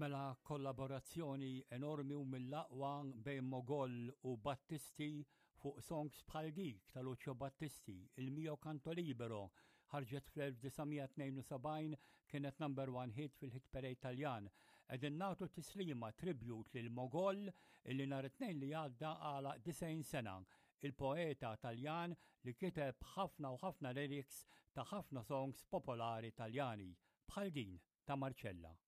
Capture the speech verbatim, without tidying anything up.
Mela, kollaborazzjoni enormi u mill-aqwa bejn Mogol u Battisti fuq songs bħal dik ta' Lucio Battisti, "Il mio canto libero", ħarġet fl-elf disa' mija tnejn u sebgħin, kienet number one hit fil-hit parade Taljan. Qegħdin nagħtu tislima, tribute lil Mogol illi nhar it-Tnejn li għadda għalaq disgħin sena, il-poeta Taljan li kiteb ħafna u ħafna lyrics ta' ħafna songs popolari Taljani bħal din ta' Marcella.